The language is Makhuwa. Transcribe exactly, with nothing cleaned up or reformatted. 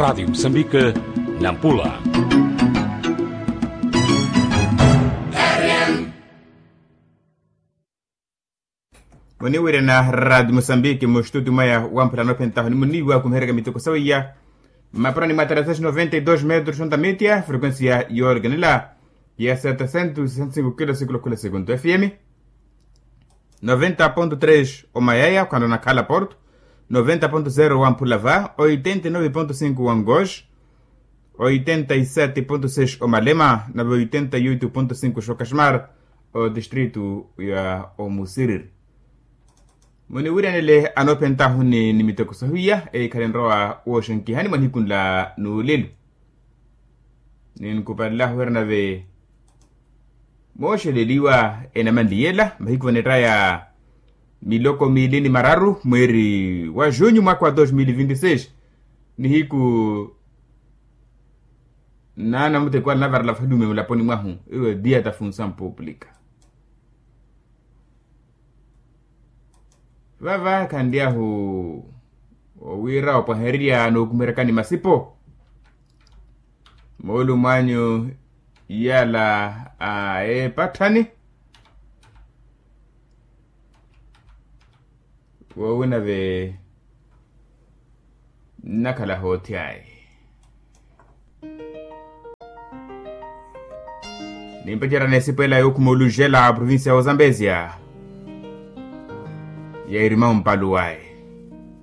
Radiyo musambike, nampula. Muniwirena radiyo musambike mustuti mwaya wamphula anophentaho nimuniwa khumihereka miteko sawiya. Mapurani mwa tarasesh noventa y dos metros onta mitia frekuensia yoorikanela ya setecientos sessenta y cinco kilo sikulu khula sekunto fm. Noventa ponto tres omayaya khwanona khala porto. Noventa ponto zero wamphula va oitenta y nove ponto cinco wangosh. Oitenta y sete ponto seis omalema nave oitenta y oito ponto cinco xokashmar. Odistritu ya omusiriri. Muniwiranele anophentahu ni miteko sahuiya eikhala enrowa wooxenkihani mwa nihiku nla nuulelo. Ninkupalelahu eri nave mooxeleliwa enamanliyela mahiku vanettaya miloko miili ni mararu mweeri wa junyu mwaka wa dos mil vinti seis. Nihiku nnaana muteko ale navarela valume mulaponi mwahu. Iwe dia ta funsamu puuplika vava khanlyahu owiira opwahererya nookumerekani masipo. Moolumo anyu iyala a epatthani woowina ve nnakhala hoothi ayi. Nimpacerya n'esipo ela yookhuma olujela provincia ya ozambezia ya irima ompaluwayi.